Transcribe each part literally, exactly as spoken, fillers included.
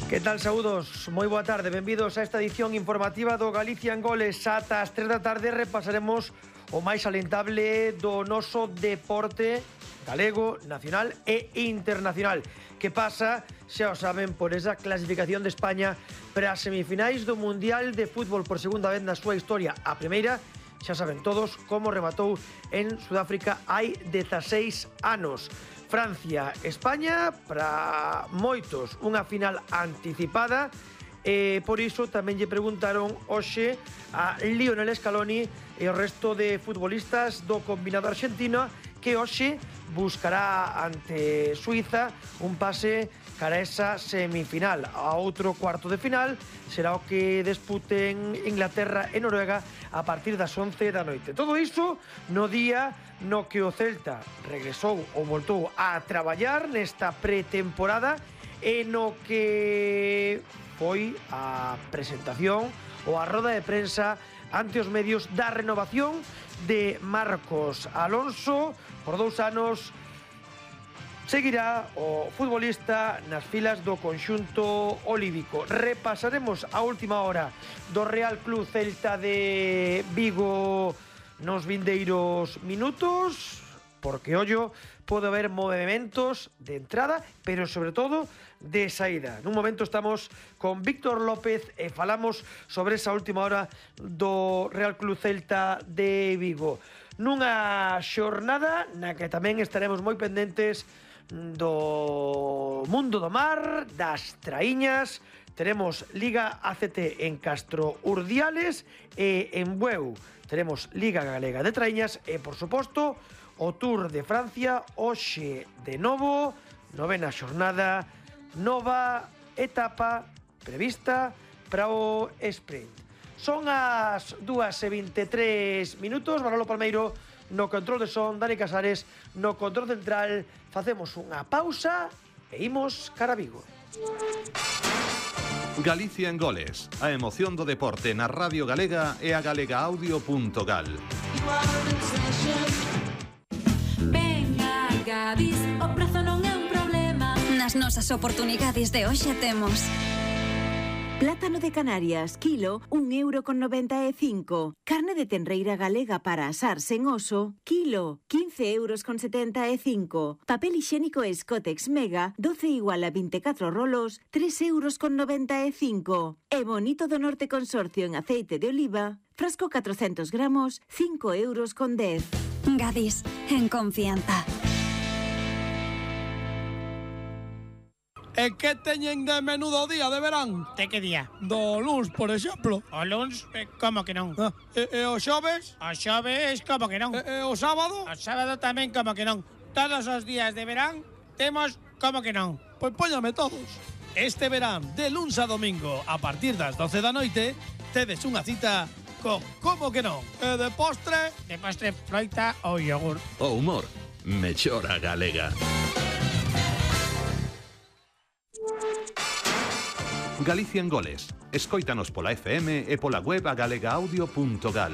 Que tal, saúdos? Moi boa tarde, benvidos a esta edición informativa do Galicia en Goles. Ata as tres da tarde repasaremos o máis alentable do noso deporte galego, nacional e internacional. Que pasa, xa o saben, por esa clasificación de España para as semifinais do Mundial de Fútbol por segunda vez na súa historia. A primeira, xa saben todos como rematou en Sudáfrica hai dezaseis anos. Francia, España, para moitos unha final anticipada, e por iso tamén lle preguntaron hoxe a Lionel Scaloni e o resto de futbolistas do combinado argentino que hoxe buscará ante Suiza un pase cara a esa semifinal. A outro cuarto de final será o que disputen Inglaterra e Noruega a partir das once da noite. Todo iso no día no que o Celta regresou ou voltou a traballar nesta pretemporada e no que foi a presentación ou a roda de prensa ante os medios da renovación de Marcos Alonso. Por dous anos seguirá o futbolista nas filas do conxunto olívico. Repasaremos a última hora do Real Club Celta de Vigo nos vindeiros minutos, porque ollo, pode haber movimentos de entrada, pero sobre todo de saída. Nun momento estamos con Víctor López e falamos sobre esa última hora do Real Club Celta de Vigo. Nunha xornada na que tamén estaremos moi pendentes do mundo do mar, das traíñas. Teremos Liga A C T en Castro Urdiales e en Bueu teremos Liga Galega de Traíñas e, por suposto, o Tour de Francia hoxe de novo, novena xornada, nova etapa prevista para o sprint. Son as dúas e vinte e tres minutos, Manolo Palmeiro no control de son, Dani Casares no control central. Facemos unha pausa e imos cara a Vigo. Galicia en Goles, a emoción do deporte na Radio Galega e a galegaaudio punto gal. Venga, Gadis, o prezo non é un problema. Nas nosas oportunidades de hoxe temos plátano de Canarias, kilo, un euro con noventa e cinco. Carne de tenreira galega para asar sen oso, kilo, quince euros con setenta e cinco. Papel higiénico Scotex Mega, doce igual a veinticuatro rolos, tres euros con noventa e cinco. E Bonito do Norte Consorcio en aceite de oliva, frasco catrocentos gramos, cinco euros con dez. Gadis, en confianza. E que teñen de menudo día de verán? De que día? Do luns, por exemplo. O luns, eh, como que non? Ah, e, e o xoves? O xoves, como que non? E, e o sábado? O sábado tamén, como que non? Todos os días de verán temos como que non? Pois póñame todos. Este verán, de luns a domingo, a partir das doce da noite, tedes unha cita co como que non. E de postre? De postre, froita ou yogur. O humor, mellora galega. Galicia en Goles. Escóitanos pola F M e pola web a galegaaudio punto gal.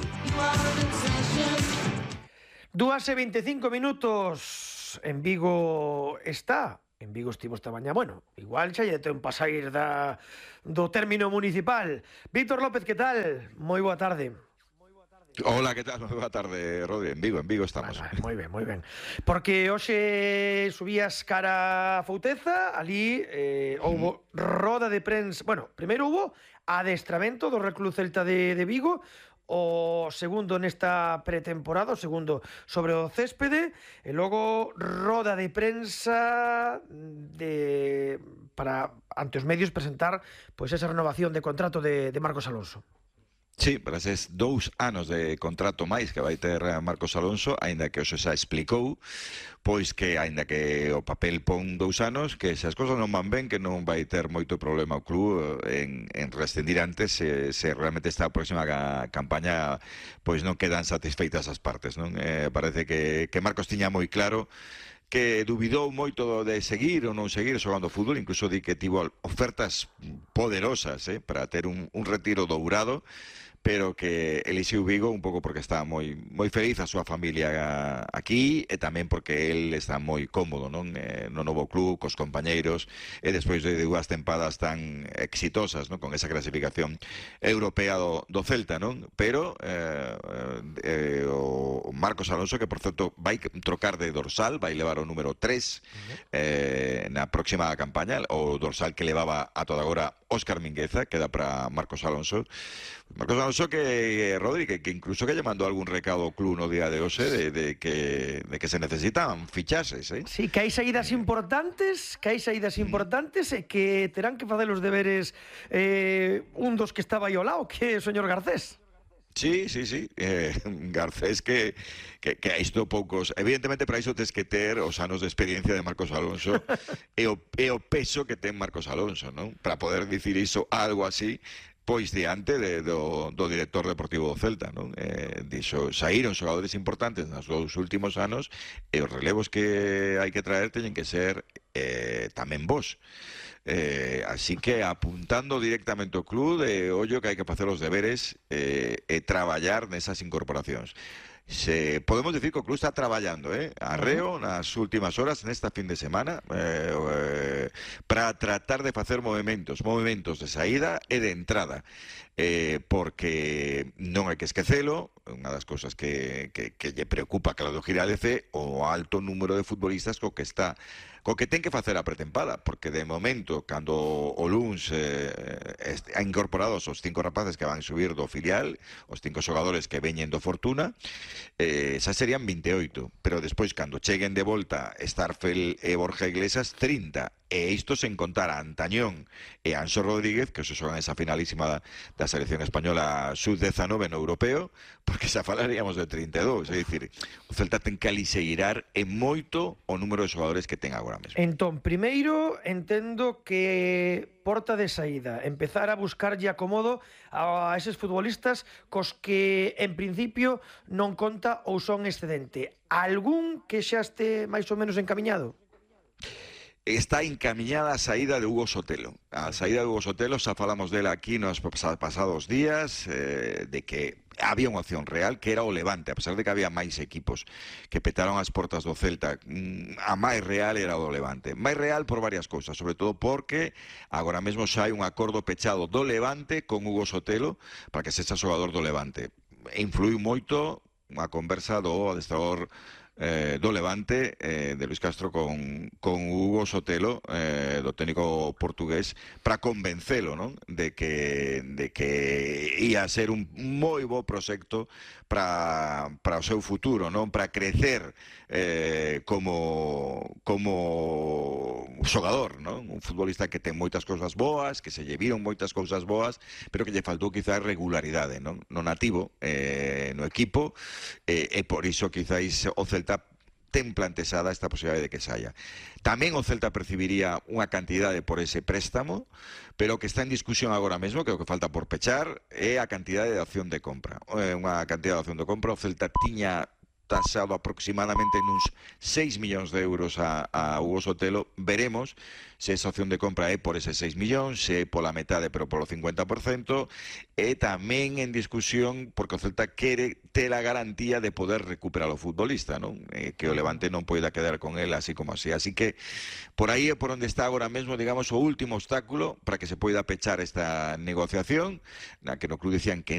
Dúas e vinte e cinco minutos. En Vigo está. En Vigo estivo esta mañá. Bueno, igual xa lle ten pa sair da, do término municipal. Víctor López, que tal? Moi boa tarde. Hola, que tal? Boa tarde, Rodri. En Vigo, en Vigo estamos. Vale, moi ben, moi ben. Porque hoxe subías cara a Fouteza, ali eh, houbo roda de prensa. Bueno, primeiro houbo adestramento do Real Club Celta de, de Vigo, o segundo nesta pretemporada, o segundo sobre o céspede, e logo roda de prensa de para ante os medios presentar pois esa renovación de contrato de, de Marcos Alonso. Sí, para eses dous anos de contrato máis que vai ter Marcos Alonso, aínda que o xa explicou, pois que aínda que o papel pon dous anos, que se as cousas non van ben, que non vai ter moito problema o club en, en rescindir antes se, se realmente esta próxima campaña pois non quedan satisfeitas as partes, non? Eh, parece que, que Marcos tiña moi claro que dubidou moito de seguir ou non seguir xogando fútbol, incluso di que tivo ofertas poderosas eh, para ter un, un retiro dourado, pero que elixiu Vigo un pouco porque está moi moi feliz a súa familia aquí e tamén porque el está moi cómodo, non? Eh, no novo club, cos compañeiros, e despois de dúas tempadas tan exitosas, non? Con esa clasificación europea do, do Celta, non? Pero eh, eh, o Marcos Alonso, que por certo vai trocar de dorsal, vai levar o número tres eh, na próxima campaña, o dorsal que levaba a toda agora Óscar Mingueza, queda para Marcos Alonso. Marcos Alonso que, Rodri, que, que incluso que lle mandou algún recado ao club no día de hoxe de, de, que, de que se necesitan fichases, eh? Sí, que hai saídas importantes, que hai saídas importantes e que terán que facer os deberes eh, un dos que estaba aí ao lado, que é o señor Garcés. Sí, sí, sí. Eh, Garcés que, que, que a isto poucos... Evidentemente, para iso tes que ter os anos de experiencia de Marcos Alonso e, o, e o peso que ten Marcos Alonso, non? Para poder dicir iso, algo así, pois diante de, do, do director deportivo do Celta, non? Eh, dixo, saíron xogadores importantes nos dous últimos anos e os relevos que hai que traer teñen que ser eh, tamén vos. Eh, así que apuntando directamente ao club de ollo que hai que facer os deberes eh, e traballar nesas incorporacións. Se podemos decir que o club está traballando, eh, arreo nas últimas horas nesta fin de semana eh, eh, para tratar de facer movimentos, movimentos de saída e de entrada, eh, porque non hai que esquecelo, unha das cousas que, que, que lle preocupa a Claudio Giraldez é o alto número de futbolistas co que está co que ten que facer a pretempada, porque de momento, cando o luns eh, ha incorporado os cinco rapaces que van subir do filial, os cinco xogadores que veñen do Fortuna, eh, xa serían vinte e oito, pero despois, cando cheguen de volta Starfel e Borja Iglesias, trinta, e isto sen contar a Antañón e a Anxo Rodríguez, que se xogan esa finalísima da, da selección española sub diecinueve no europeo, porque xa falaríamos de trinta e dous, é dicir, o Celta ten que alixeirar en moito o número de xogadores que ten agora mesmo. Entón, primeiro, entendo que porta de saída, empezar a buscarlle acomodo a eses futbolistas cos que, en principio, non conta ou son excedente. Algún que xa este máis ou menos encamiñado? Está encamiñada a saída de Hugo Sotelo. A saída de Hugo Sotelo, xa falamos dela aquí nos pasados días, eh, de que había unha opción real, que era o Levante, a pesar de que había máis equipos que petaron as portas do Celta, a máis real era o do Levante. Máis real por varias cousas, sobre todo porque agora mesmo xa hai un acordo pechado do Levante con Hugo Sotelo para que sexa xogador do Levante. Influiu moito a conversa do adestrador Eh, do Levante, eh, de Luis Castro con, con Hugo Sotelo, eh, do técnico portugués, para convencelo, non? De que, de que ia ser un moi bo proxecto para, para o seu futuro, non? Para crecer eh, como, como xogador, non? Un futbolista que ten moitas cousas boas, que se lle viron moitas cousas boas, pero que lle faltou quizás regularidade, non? No nativo, eh, no equipo, eh, e por iso quizáis o Celta ten plantexada esta posibilidade de que saia. Tamén o Celta percibiría unha cantidade por ese préstamo, pero que está en discusión agora mesmo, que o que falta por pechar é a cantidade de opción de compra. É unha cantidade de opción de compra. O Celta tiña tasado aproximadamente nuns seis millóns de euros a, a Hugo Sotelo. Veremos se esa opción de compra é por eses seis millóns, se é pola metade pero polo cincuenta por cento, e tamén en discusión porque o Celta quere ter a garantía de poder recuperar o futbolista, non? Eh, que o Levante non poida quedar con él así como así. Así que por aí é por onde está agora mesmo, digamos, o último obstáculo para que se poida pechar esta negociación, na que no club dicían que